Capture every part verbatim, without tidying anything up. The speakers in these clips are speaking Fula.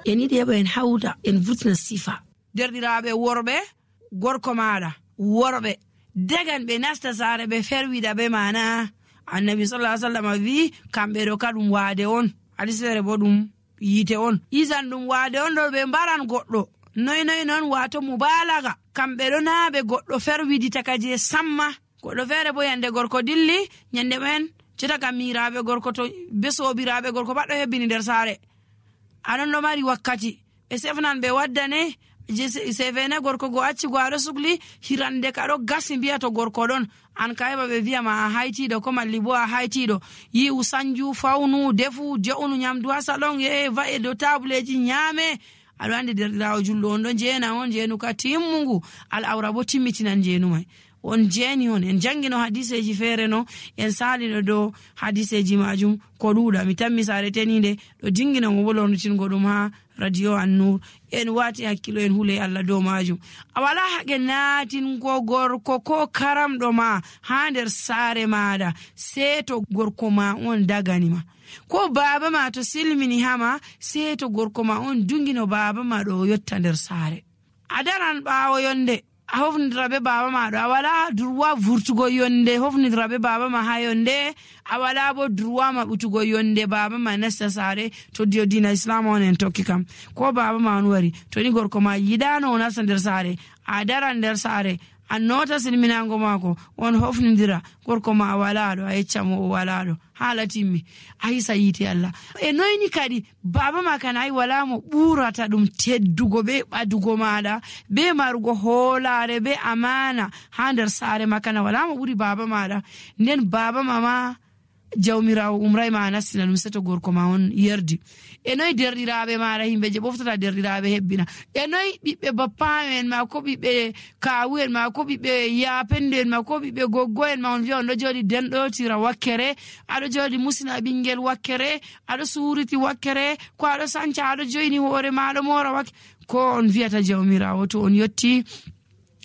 En yiɗi heɓa en hawta, en vurtina sifa. Derɗiraaɓe worɓe, gorko maaɗa, worɓe, dagan ɓe nasta saare, ɓe ferwida ɓe maana. Annabi sallallahu alaihi wasallam wi, kamɓe ɗo ka ɗum waade on. Hadis feere bo ɗum yiite on. Isan ɗum waade on ɗo ɓe mbaran goɗɗo. Noy noy non, waato mubaalaga. Kamɓe ɗo naa ɓe goɗɗo ferwidita ka je samma. Goɗɗo feere bo yande gorko dilli, nyande men, cota ka miiraaɓe gorko to be soobiraaɓe gorko baɗɗo hebbini nder saare. Anon ɗo mari wakkati. Ɓe sefnan ɓe waddane, je se-, sefene gorko go acci go aɗo sukli, hirande ka ɗo gasi mbiya to gorko ɗon. An ka heɓa ɓe viya ma a haytiɗo, ko malli bo a haytiɗo. Yi'u sanju, fawnu, defu, jo'unu nyamdu ha salon, ye va'e dow tabuleji nyame. Aɗo andi derɗiraawo julɗo on ɗo jeena on, jeenu ka timmungu. Al awra bo timmitinan jeenu mai. On jeeni on, en jangino hadiseji feere no, en saalino dow hadiseji majum ko ɗuuɗa. Mi tammi saare teniinde ɗo jingina mo bo lornitingo ɗum ha Radio Annur. En waati hakkilo, en hule Allah dow majum. A wala haqe naatingo gorko ko karamɗo ma ha nder saare maɗa, sey to gorko ma on dagani ma. Ko baaba ma to silmini hama, sey to gorko ma on dungino baaba ma ɗo o yotta nder saare. A daran ɓaawo yonde, a hofnidira be baaba ma ɗo, a wala droit vurtugo yonde, hofnidira be baaba ma ha yonde, a wala bo droit maɓɓutugo yonde baaba ma nasta saare, to dio diina Islam on en tokki kam. Ko baaba ma on wari, to ni gorko ma yiɗano o nasta nder saare, a daran nder saare, a nota silminango maako, on hofnidira, gorko ma a wala ɗo, a yecca mo o wala ɗo. Haala timmi, a hisa yiite Allah. E noyni kadi, baaba ma kan ay wala mo ɓurata ɗum teddugo be ɓadugo maɗa, be marugo hoolare, be amaana ha nder saare ma kan, wala mo ɓuri baaba maɗa. Nden baaba ma ma, Jawmiraawo umray ma a nastina ɗum, seto gorko ma on yerdi. E noy derɗiraaɓe maɗa, himɓe je ɓoftata derɗiraaɓe hebbina? E noy ɓiɓɓe bappayo en ma, ko ɓiɓɓe kaawu en ma, ko ɓiɓɓe yaapendo en ma, ko ɓiɓɓe goggo en ma, on viya on ɗo jooɗi denɗotira wakkere, aɗo jooɗi musina ɓingel wakkere, aɗo suuriti wakkere, ko aɗo sanca, aɗo joyni hoore ma, aɗo moora wakkere. Ko on viyata Jawmiraawo to on yotti?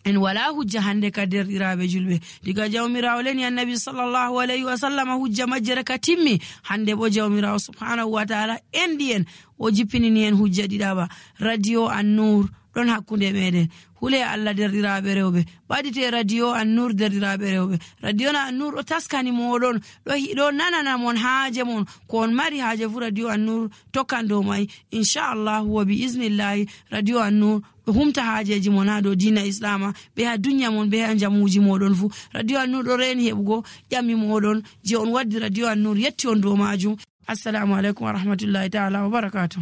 En wala hujja hande ka derɗiraaɓe julɓe. Diga Jawmiraawo leni Annabi sallallahu alayhi wa sallam hujja majjere ka timmi. Hande bo Jawmiraawo subhanahu wa ta'ala enɗi en, o jippinini en hujja ɗiɗaɓa. Radio Annur ɗon hakkunde meɗen. Hule Allah derɗiraaɓe rewɓe. Ɓadite Radio Annur derɗiraaɓe rewɓe. Radio na Annur ɗo taskani moɗon. Ɗo hi-, ɗo nanana mon haaje mon. Ko on mari haaje fu Radio Annur tokkan dow mai. Inchallahu wa bi iznillahi Radio Annur ɗo humta haajeji mon ha dow diina Islama, ɓe ha dunya mon, ɓe ha njamuji moɗon fu. Radio Annur ɗo reeni heɓugo ƴami moɗon je on waddi Radio Annur yetti on dow majum. Assalamu alaikum wa rahmatullahi ta'ala wa barakatuh.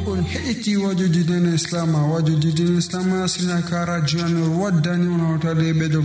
On heɗiti wajoji diina Islama, wajoji diina Islama sina ka Radio Annur waddani on hawtade ɓe dow